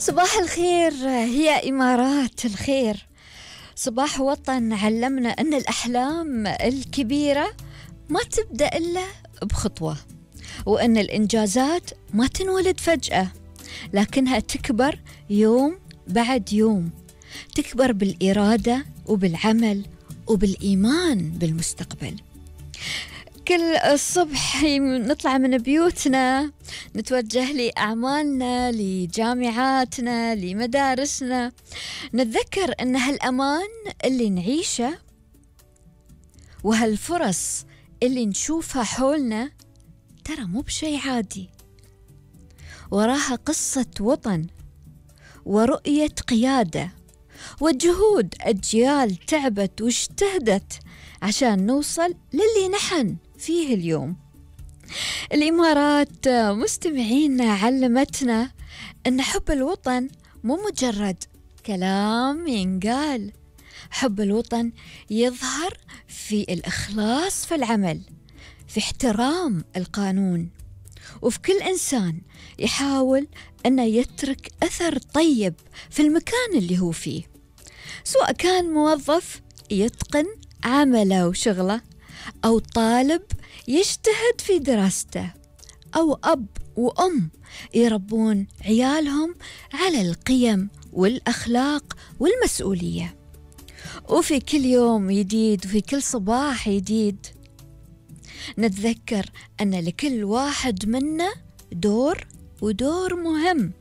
صباح الخير. هي إمارات الخير. صباح وطن علمنا أن الأحلام الكبيرة ما تبدأ إلا بخطوة، وأن الإنجازات ما تنولد فجأة لكنها تكبر يوم بعد يوم، تكبر بالإرادة وبالعمل وبالإيمان بالمستقبل. كل الصبح نطلع من بيوتنا نتوجه لأعمالنا، لجامعاتنا، لمدارسنا، نتذكر أن هالأمان اللي نعيشه وهالفرص اللي نشوفها حولنا ترى مو بشي عادي، وراها قصة وطن ورؤية قيادة وجهود أجيال تعبت واجتهدت عشان نوصل للي نحن فيه اليوم. الإمارات مستمعينا علمتنا أن حب الوطن مو مجرد كلام ينقال، حب الوطن يظهر في الإخلاص في العمل، في احترام القانون، وفي كل إنسان يحاول أن يترك أثر طيب في المكان اللي هو فيه، سواء كان موظف يتقن عمله وشغله، أو طالب يجتهد في دراسته، أو أب وأم يربون عيالهم على القيم والأخلاق والمسؤولية. وفي كل يوم جديد وفي كل صباح جديد نتذكر أن لكل واحد منا دور، ودور مهم